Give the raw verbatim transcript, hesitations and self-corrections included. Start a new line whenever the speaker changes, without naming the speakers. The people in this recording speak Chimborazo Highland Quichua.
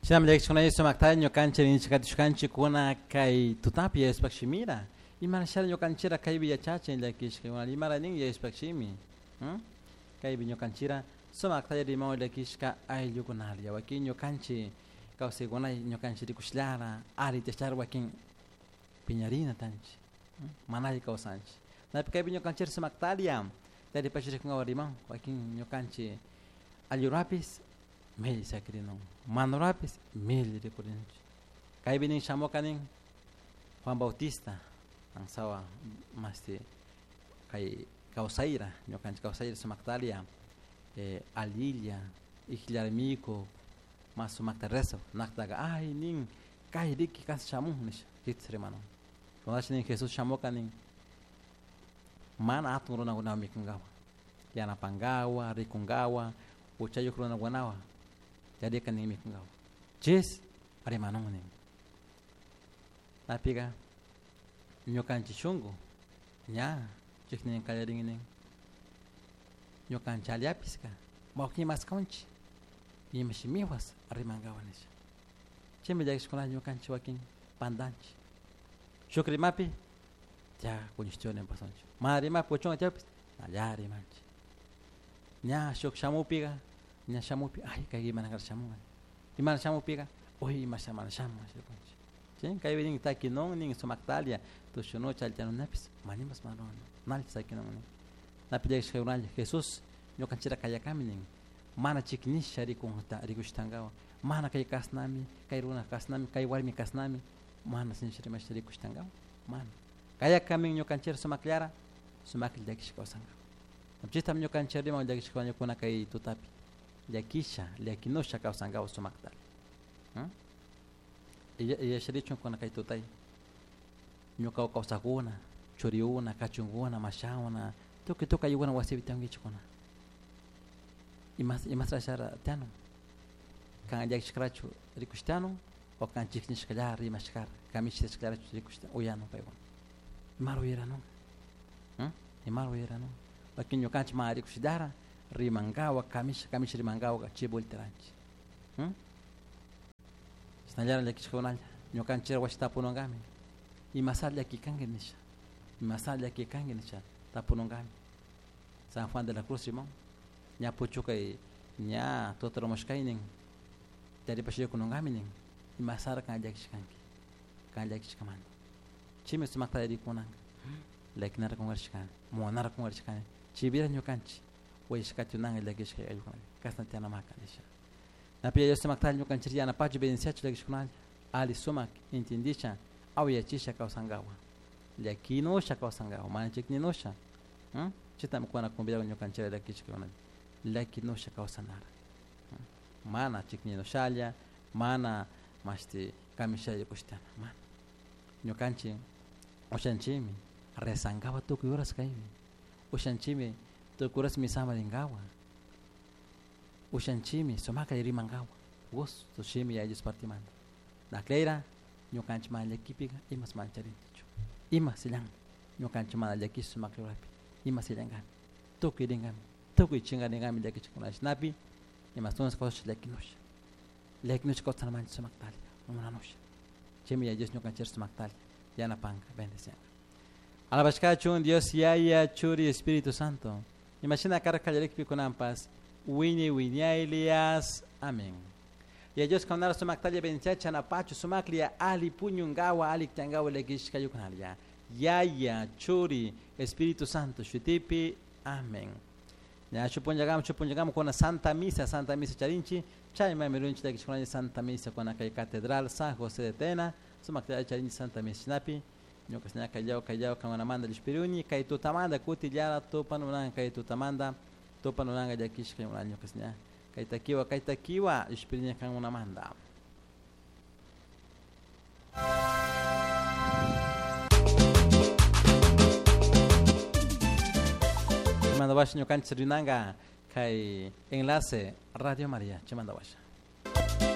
Shinami llakishkuna sumakta ñukanchik rinchikatishkanchikuna kay tutapi Yayashpak shimira imarashara ñukanchira kaypi yachachin llakishka imara nin Yayashpak shimi kaypi ñukanchira sumakta rimaw llakishka ayllukunalla wakin ñukanchik kawsaykuna ñukanchik rikushlara aritashlara wakin piñarina tanchik mana alli kawsanchik napi kaypi ñukanchira sumaktaria taripashirikunawan riman wakin ñukanchik allurapis milli sakirinun manurapis milli rikurinchik kaypi nin shamuka nin Juan Bautista ansawa masti kay kawsayra ñukanchik kawsayra sumaktaria eh, alilla ikllarmiku mas sumakta rezo naktaqa ay nin kay riki kas shamun nisha chitz rimanun kunash nin Jesús shamuka nin mana hatun runakunawan mikunkawa yanapankawa rikunkawa huchayuq runakunawan yarika nin mikunkawa chis rimanun nin napiqa ñukanchik shunku ña chiknin qallarin nin ñukanchik allapiska wawqi maskawanchik ima shimiwas rimankawa nisha chaymi llakishkuna ñukanchik wakin pantanchik shuk rimapi ya kuñishchuni pasanchik mana rimapi uchunga chaypis alla rimanchik ña shuk shamupiqa ña shamupi ay kay imana shamunqa imana shamupiqa uy ima mana shamun rikunchik chay kaypi nin takinun nin sumaktalia tushunucha allchanunapis manimas manun nalli sakinun nin napi llakishkakunalla Jesús ñukanchira kayakami nin mana chiknisha rikunta rikushtankawa mana kay kasnami kay runa kasnami kay warmi kasnami mana sinchi rimasha rikushtankawa mana kayakamin ñukanchira sumakllara sumaklla llakisha kawsankawa chitam ñukanchik riman llakishka ñukuna kay tutapi llakisha llakinusha kawsankawa sumaktalla yacharichun kuna kay tutay ñuka kawsakuna churiuna kachunkuna mashawna tukuy tukuy ayllukuna wasipi tiyankichikuna imas imasrashara tiyanun kan llakishkarachu rikushtianun o kan chiknishkallara rimashkara kamishashkallarachu rikushta uyanun paykuna imara uyaranun imara uyaranun wakin ñukanchik mana rikushillara rimankawa kamisha kamisha rimankawa chay volteranchik chisnallara llakishkakunalla ñukanchik wasi tapununkami imasalla llakikanki nisha imasalla llakikanki nisha tapununkami San Juan de la Cruz rimon ña puchukay ña tutarumushkaynin taripashaykununkami nin imasara kan llakishkanki kan llakishkamanta chaymi sumakta rikunanka llakinara kunkarishkani munara kunkarishkani chaypira ñukanchik wayashkatunanka llakishka ayllukunalla kasna tiyanamaka nisha napi Dios sumakta ñukanchik yanapachu bendiciachu llakishkunalla ali sumak intindisha awyachisha kawsankawa llakinusha kawsankawa mana chikninusha chaytami kuna convidado ñukanchik llakishkakunalla llakinusha kawsanara mana chikninushalla mana mashti kamishalla kushtana mana ñukanchik ushanchikmi rezankawa tukuy horas kaypi ushanchikmi tukuy horas misama rinkawa ushanchikmi sumaklla rimankawa gusto shimi Yaya Dios partimanta nakleyra ñukanchik mana llakipika imas mana charinchikchu ima sillan ñukanchik mana llakish sumaklla rurapi ima sillankami tukuy rinkami tukuy chinkarinkamin llakichikuna chashnapi imastunas kawsasha llakinusha llakinusha kawsanamanchik sumaktalla munanusha chaymi Yaya Dios ñukanchik sumaktalla yanapanka bendicianka alabashkachun Dios Yaya Churi Espíritu Santo imashina karka kallarikpi kunanpas wiñay wiñaylias amén. Yaya Dios kanara sumaktalla bendiciacha napachu sumaklia ali puñunkawa ali tiankawa llakishkayukunalla Yaya Churi Espíritu Santo shutipi amén. Ña chupunllakama chupunllakama kuna Santa Misa Santa Misa charinchi chayman mirunchik llakishkunalla Santa Misa kuna kay Catedral San José de Tena sumaktalla charinchi Santa Misa chinapi ñuka ña kayllaw kayllaw kankunamanta llishpiruni kay tutamanta kutillara tupanunanka kay tutamanta tupanunanka llakishka ñuka ña kay takiwa kay takiwa llishpiriña kankunamanta. Chimanda washa ñukanchik rinanka kay enlace Radio María chimanda washa.